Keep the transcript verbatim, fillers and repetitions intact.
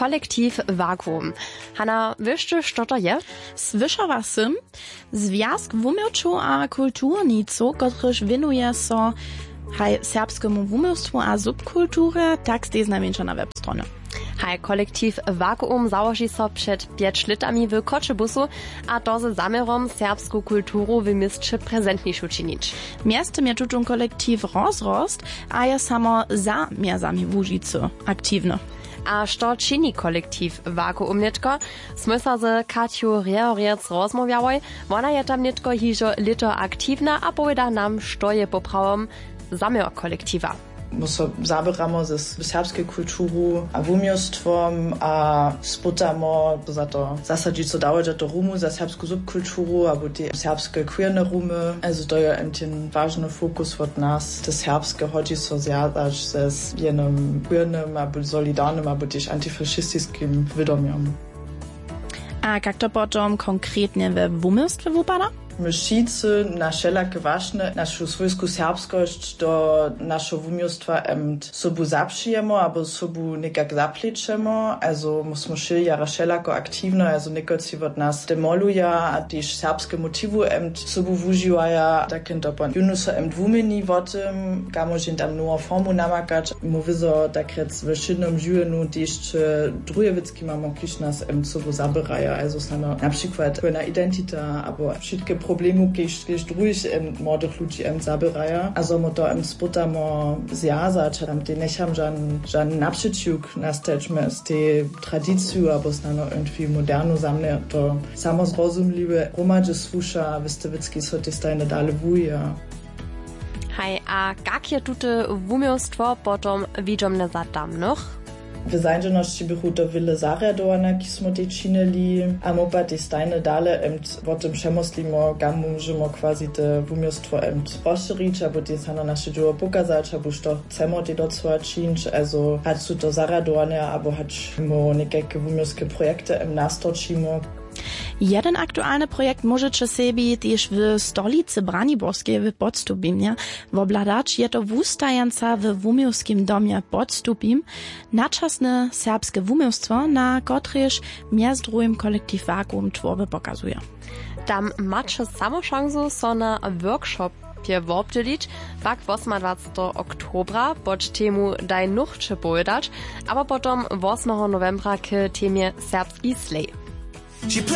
Kolektiv Vakuum. Hanna, wěš ty, što to je? Słyšała sym. Zwjazk wuměłčow a kulturnicow, kotryž wěnuje so haj serbskemu wuměłstwu a subkulturje, tak stej znajmjeńša na webstronje. Haj, kolektiv Vakuum załoži so před pjeć lětami w Choćebuzu, a to ze zaměrom, serbsku kulturu w měsće prezentnišu činić. Mjeztym je tutón kolektiv rozrost a je samo za mjezami Łužicy aktiwny. A što čini kolektiv Vakuum nětko? Smój so z Katju Rjehorjec rozmołwjałoj. Wona je tam nětko hižo lěto aktiwna a powěda nam, što je poprawom zaměr kolektiwa. My so zaběramo ze s-, serbskej kulturu a wuměłstwom a spytamo za to zasadźić so dawaj do to Rumu za serbsku subkulturu abo te serbske queerne Rumy. Also to je en ten wažny fokus wot nas, te serbske hodźi so zwjazać ze s-, jenym queernym abo solidarnym abo tež antifašistiskim wědomjom. A kak to potom konkretnje we wuměłstwje wupada? My wšitcy na wšelake wašnje našu swójsku serbskosć do našeho wuměłstwa em sobu zapřijemo abo sobu někak zaplećemo. Also my smy wšelejara wšelako aktiwne, also někotři wot nas te moluja a tež serbske motiwy em sobu wužiwaja, tak jen to pon jónu so em wuměni wo tym, kamož jen tam nowu formu namakać. Móhł by so tak rjec we wšědnym žiwjenju tež druhe wěc, kiž mamy, kiž nas em sobu zaběraja, also snano na přikład queerna identita abo wšitke problemy, kiž, kiž druhich em młodych ludźi em zaběraja. A zo my to em spytamo zwjazać, a tam tej njecham žan, žan napřećiwk nastać mjez tej tradiciju abo snano irgendwie modernu. Za mnje to samozrozumliwe, hromadźe słuša, wěste wěc, kiž so tej stajnje dale wuja. Haj, a kak je tute wuměłstwo potom widźomne za tamnych? W zańdźenosći běchu to wjele zarjadowanja, kiž smy tej činili, a my pak tej stajnje dale em wo tym přemyslimo, kam móžemy quasi te wuměłstwo em rozšěrić abo tej snano naše dźěło pokazać abo što chcemy tej docyła čińć. Also hač su to zarjadowanja abo hač my někajke wuměłske projekty em nastorčimy. Jeden aktualny projekt móžeće sebi tež w stolicy Braniborskej w Podstupimje wobhladać. Je to wustajeńca we wuměłskim domje Podstupim, načasne serbske wuměłstwo, na kotrejž mjez druhim kolektiv Vakuum twórby pokazuje. Tam maće samo šansu so na workshopje wobdźělić, pak wosmadwaceteho oktobra pod temu Daj nóhče powědać, abo potom wosmeho nowembra k temje Serbski slej.